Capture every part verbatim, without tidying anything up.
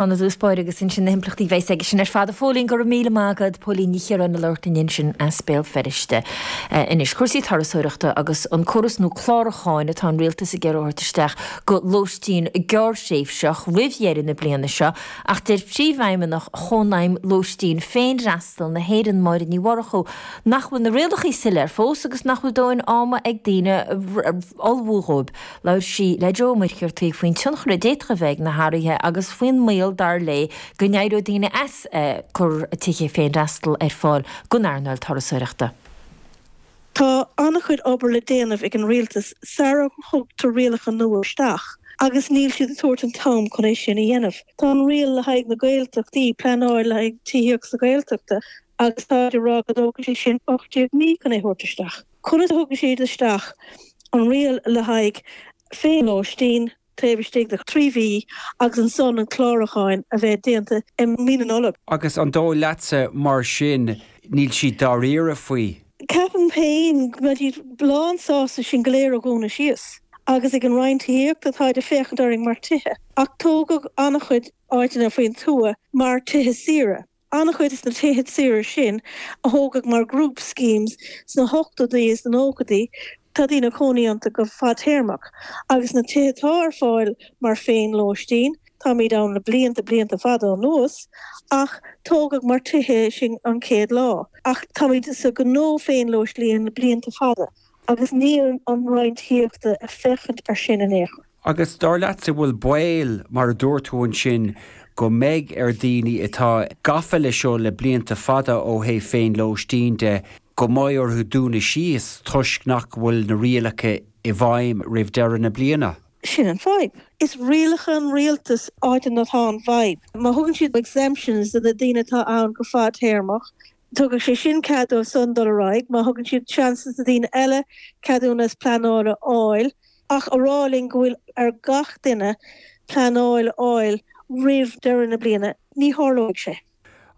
An dúspáir agus ansin na himpleachtaí bheas aige sin ar fad. A Phóilín, go raibh míle maith agat. Póilín Ní Chiaráin ag labhairt linn ansin as Béal Feirste. Anois cúrsaí turasóireachta agus an córas nua clárúcháin atá an rialtas ag iarraidh a thabhairt isteach go lóistín gearrthréimhseach roimh dheireadh na bliana seo, ach deir príomhfheidhmeannach Chónaidhm Lóistín Féinfhreastail na hÉireann, Máire Ní Mhurchú, nach bhfuil na rialacha soiléir fós agus nach bhfuil dóthain ama ag daoine ullmhú dhóibh. Labhair sí le Joe Ó Muircheartaigh faoin tionchar a d'fhéadfadh a bheith ag na hathruithe agus faoin mbaol dar léi go n-éireodh daoine as cur tithe féinfhreastail ar fáil don earnáil turasóireachta. Tá an-chuid obair le déanamh ag an rialtas sara thugtar rialacha nua isteach, agus níl siad ag tabhairt an t-am chun é sin a dhéanamh. Tá an riail le haghaidh na Gaeltachtaí, pleanáil le haghaidh tithíocht sa Ghaeltachta, agus tá á rá go dtógfaidh sé sin ocht déag mí chun é a thabhairt isteach. Conas a thugfaidh siad isteach an riail le haghaidh féinlóistín taobh istigh de thrí mhí agus ansan an clárúcháin a bheith déanta i mí na Nollag? Agus an dóigh leatsa mar sin níl siad dáiríre faoi? Ceapaim féin go mbeidh siad lán sásta sinn go léir a dhúnadh síos. Agus ag an Roinn Tithíochta táid ag féachaint orainn mar tithe. Ach tógadh an-chuid áiteanna faoin tuath mar tithe saoire. An-chuid de na tithe saoire sin a thógadh mar group schemes sna hochtóidí is na nóchaidí, tá daoine ag cónaí iontu go fadtéarmach. Agus na tithe atá ar fáil mar féin-lóistín, táimid ann le blianta, blianta fada anuas, ach tógadh mar tithe sinn an chéad lá. Ach táimid sa ghnó féin-lóistín le blianta fada agus níl an Roinn Tithíochta ag féachaint ar sin in aon chor. Agus dar leatsa bhfuil baol, mar a dúirt tú ansin, go mbeidh ar dhaoine atá gafa leis seo le blianta fada ó thaobh féinlóistín de, go mbeidh orthu dúnadh síos toisc nach bhfuil na rialacha i bhfeidhm roimh deireadh na bliana? Sin an fadhb. Is rialacha an rialtais áit atá an fhadhb. Má thugann siad exemptions do na daoine atá ann go fadtéarmach, tugadh sé sin cead dóibh san dul ar aghaidh. Má thugann siad seans do daoine eile ceadúnas pleanála a fháil, ach a rá linn go bhfuil ar gach duine pleanáil a fháil roimh deireadh na bliana, ní tharlóidh sé.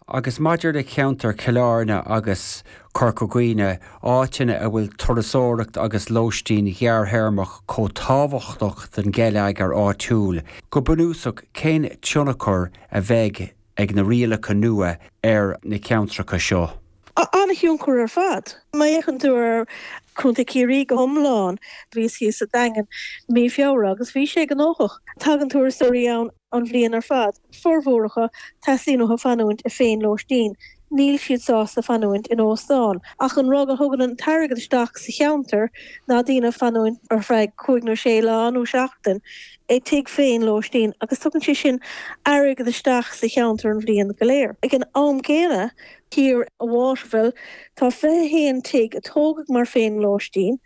Agus maidir le ceantar Chill Airne agus Corca Dhuibhne, áiteanna a bhfuil turasóireacht agus lóistín ghearrthéarmach chomh tábhachtach don gheilleagar áitiúil, go bunúsach cén tionchar a bheidh ag na rialacha nua ar na ceantracha seo? An-thionchar ar fad. Má fhéachann tú ar Chontae Chiarraí go hiomlán, bhíos thíos sa Daingean mí Feabhra agus bhí sé gnóthach. Tagann turasóirí ann an bhliain ar fad. Formhór acu, teastaíonn uathu fanúint i féinlóistín. Níl siad sásta fanúint in óstán. Ach an rud a thugann an t-airgead isteach sa cheantar ná daoine fanúint ar feadh cúig nó sé lá nó seachtain i dtigh féinlóistín agus tugann sé sin airgead isteach sa cheantar an bhliain go léir. Ag an am céanna, thiar i Waterville, tá fiche haon tigh a tógadh mar féinlóistín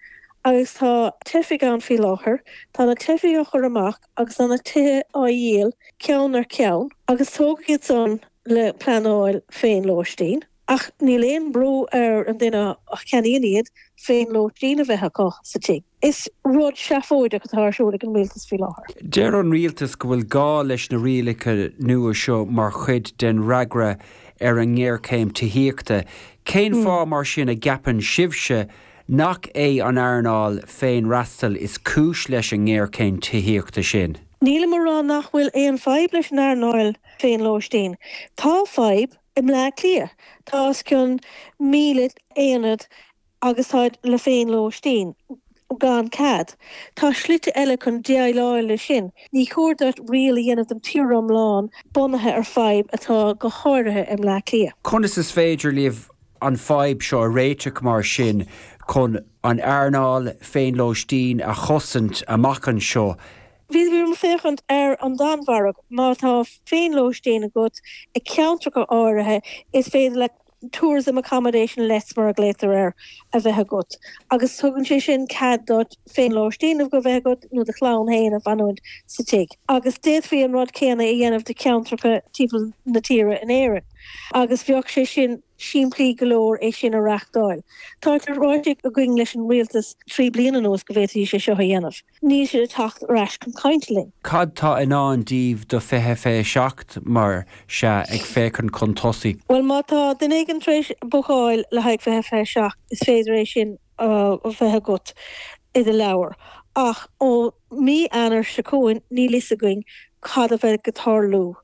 agus tá teifigh ann faoi láthair. Tá na teifigh á chur amach agus tá na tithe á dhíol ceann ar cheann agus tógadh iad san le pleanáil féinlóistín. Ach níl aon brú ar an duine a cheannaíonn iad féinlóistín a bheith acu sa tigh. Is rud seafóideach atá ar siúl ag an rialtas faoi láthair. Deir an rialtas go bhfuil gá leis na rialacha nua seo mar chuid den fhreagra ar an ngéarchéim tithíochta. Cén fáth mar sin a gceapann sibhse nach é an earnáil féinfhreastail is cúis leis an ngéarchéim tithíochta sin? Nílim ag rá nach bhfuil aon fadhb leis an earnáil féinlóistín. Tá fadhb i mBleá Cliath. Tá os cionn míle aonad agus táid le féinlóistín gan cead. Tá slite eile chun déileáil leis sin. Ní chóir duit riail a dhéanamh don tír iomlán bunaithe ar fadhb atá go háirithe i mBleá Cliath. Conas is féidir libh an fadhb seo a réiteach mar sin chun an earnáil féinlóistín a chosaint amach anseo? Bhí mé ag féachaint ar an Danmhairg. Má tá féinlóistín agat i ceantracha áirithe, is féidir leat tourism accommodation lets mar a ghlaotar air a bheith agat agus tugann sé sin cead duit féinlóistín a bheith agat nó do chlann féin a fanúint sa tigh. Agus d'fhéadfaí an rud céanna a dhéanamh do cheantracha timpeall na tíre in Éirinn agus bheadh sé sin simplí go leor é sin a reachtáil. Tá sé ráite againn leis an rialtas trí bliana anuas go bhféadfaí sé seo a dhéanamh. Níl siad ag teacht ar ais chun cainte linn. Cad tá i ndán daoibh do fiche fiche seacht mar sea ag féachaint chun tosaigh? Bhuel má tá duine éigin tar éis bookáil le haghaidh fiche fiche seacht is féidir é sin a bheith agat i do leabhar. Ach ó mí Eanáir seo chugainn níl fhios againn cad a bheidh ag tarlú.